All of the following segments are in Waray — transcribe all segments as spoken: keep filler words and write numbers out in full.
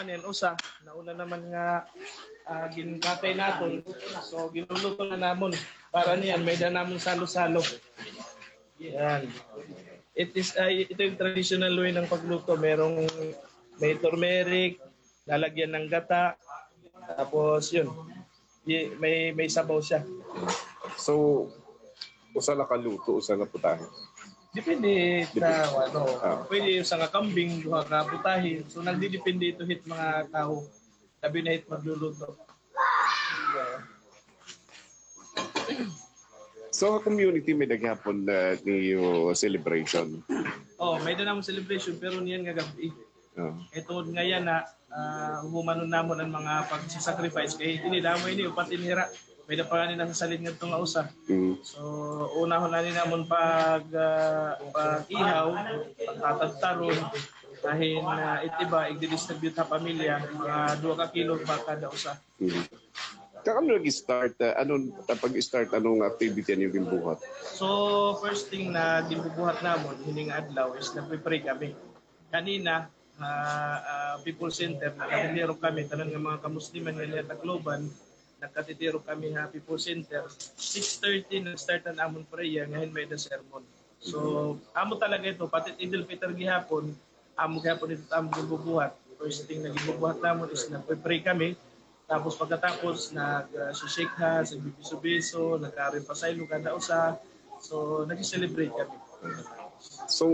Yan, usa, nauna naman nga, ah, ginkatay naton. So, ginluluto na namon. Para niyan, may-ada namon salo-salo. Yan. It is, ay, ito yung traditional way ng pagluto. Merong, may turmeric, lalagyan ng gata. Tapos, yun. Di, may, may sabaw siya. So, usa la ka luto, usa nga putahe? Depende sa, ano, pwede usa nga kambing, duha ka putahe. So, nagdidepende ito hit mga tawo. Labi na hit magluluto. So, ha community may-ada gihapon, ah, niyo celebration? Oh, may-ada namon celebration, pero niyan nga gab-i. Oh. Kay tungod nga yana, ah, humanon namon an mga pagsasacrifice. Kay ini, damo ini, upat ini hira. May-ada pa ngani nasasalin ngadto nga usa. Mm. So, unahon na ni namon pag, ah, pag-ihaw, pagtatadtaron, bahin, ah, it iba, igdi-distribute ha pamilya, mga duha ka kilo ba kada usa. Mhm. Kakano nag-start, ah, ano, pag-start, ano nga activity an iyo ginbuhat? So, first thing na ginbubuhat namon, hini nga adlaw is nagpe-pray kami. Kanina, ha, ah, People Center, nagkatitiro kami, tanan nga mga kamusliman nga niya Tacloban, nagkatitiro kami ha People Center. Six thirty, nag-start an amon prayer, ngahin may-ada sermon. So, amo talaga ito, pati Eid al-Fitr gihapon, amo gihapon ito it amon ginbubuhat. First thing na ginbubuhat namon is nagpe-pray kami. Tapos pagkatapos, nag, ah, shake hands, nagbibiso-biso, nagkaroon pasaylo kada usa. So, nag-celebrate kami. So,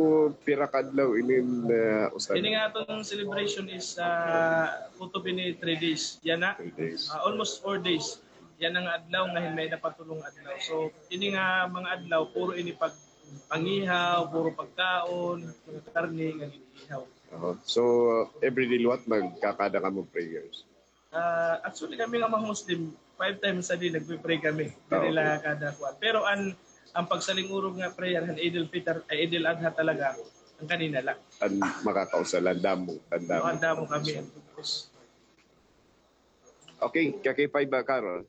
pira ka adlaw inin, ah, usa? Ini nga aton celebration is, ah, kutob ini three days. Yana, three days. Ah, almost four days. Yana nga adlaw, ngahin may-ada pa tulo nga adlaw. So, ini nga mga adlaw, puro ini pag-, pangihaw, puro pagkaon, mga karne nga gin-ihaw. Oho. So, everyday liwat nagkakada kamo prayers? Ah, actually, kami nga mga Muslim, five times a day nagpe-pray kami. Ah, okay. Diri la kada kuan. Pero an, an pagsaling-urog nga prayer han Eid al-Fitr, ay, Eid al-Adha talaga, an kanina la. An makakausa la, an damo, an damo. Oo, an damo kami. Okay, kakipay ba, Carol?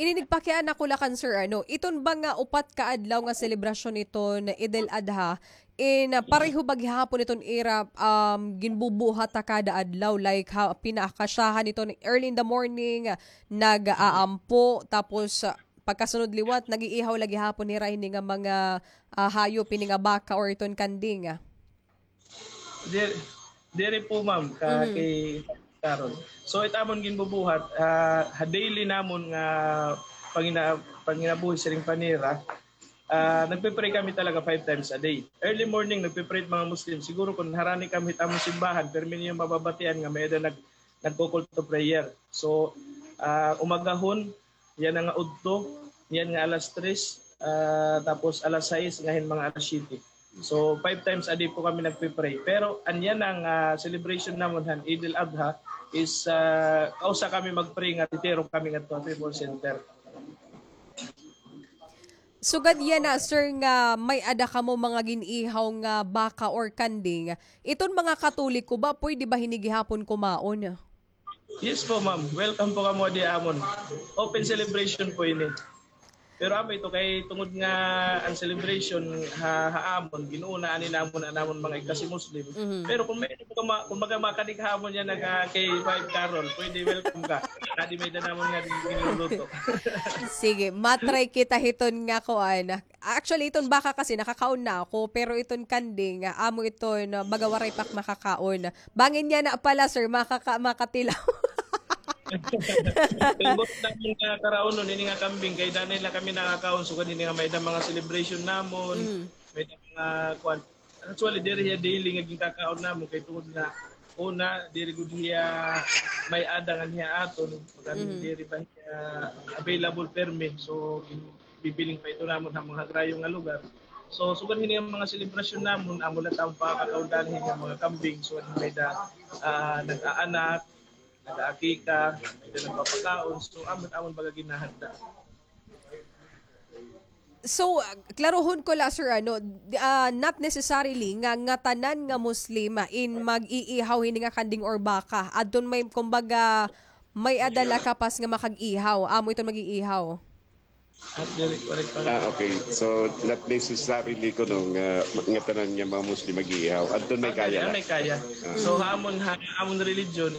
Ini nagpakiana ko la kan sir, ano, iton ba nga upat ka adlaw nga selebrasyon iton Eid al-Adha, in, ah, pareho ba gihapon iton ira, um, ginbubuhat ha kada adlaw, like, ha, pinaakasyahan iton early in the morning, nag-aampo, tapos, ah, pagkasunod liwat, nag-iihaw la gihapon hira hini nga mga, ah, hayop, hini nga baka or iton kanding? Diri, diri po, ma'am, ka-, kay Carol. So, it amon ginbubuhat, ah, ha daily namon nga pangina-, panginabuhi siring panira, ah, nagpe-pray kami talaga five times a day. Early morning, nagpe-pray it mga Muslim. Siguro kon harani kami hit amon simbahan, pirmi niyo mababatian nga may-ada nag-, nagkukulto prayer. So, ah, umagahon, yana nga udto, yana nga alas tres, ah, tapos alas sais, ngahin mga alas siyete. So, five times a day po kami nagpe-pray. Pero an yana nga, ah, celebration namon han Eid al-Adha is, ah, kausa kami mag-pray nga titiro kami ngadto ha People Center. Sugad yana, sir, nga may-ada kamo mga gin-ihaw nga baka or kanding, iton mga Katoliko ba, pwede ba hini gihapon kumaon? Yes po, ma'am. Welcome po kamo di amon. Open celebration po ini. Pero amo ito kay tungod nga an celebration ha, ha amon, ginuunaan ni namon an amon mga igkasi Muslim. Mhm. Pero kung may, kung ma-, kung maga makanig ha amon yana nga kay Five Carol, pwede, welcome ka. Kadi may-ada namon nga ginluluto. Sige, ma-try kita hiton nga kuan. Actually, iton baka kasi nakakaon na ako, pero iton kanding, ah, amo iton, ah, baga waray pa ak makakaon. Bangin yana pala, sir, makaka-, makatilaw. Kay buot namon nga karaonon, ini nga kambing, kay danay la kami nakakaon, sugad hini nga may-ada mga celebration namon, may-ada mga kuan. Actually, diri hiya daily nga ginkakaon namon, kay tungod nga, una, diri gud hiya may-ada ngan hiya aton, diri ba hiya available permi. So, bibiling pa ito namon ha mga hagrayo nga lugar. So, sugad hini nga mga selebrasyon namon, amo la it amon pakakaon danay hini nga mga kambing, sugad may-ada, ah, nag-aanak, nag-aakika, may-ada nagpapakaon. So, amo it amon baga ginhahanda. So, ah, klarohon ko la, sir, ano, di-, ah, not necessarily nga, nga tanan nga Muslim, ah, in mag-iihaw hini nga kanding or baka. Adton may, kumbaga, may-ada la kapas nga makag-ihaw. Amo iton mag-iihaw. Ah, diri, correct pa. Ah, okay. So, not necessarily kuno nga, nga tanan nga mga Muslim mag-iihaw. Adton may kaya la. Ah, may kaya. Ah. So, ha amon, ha amon religion,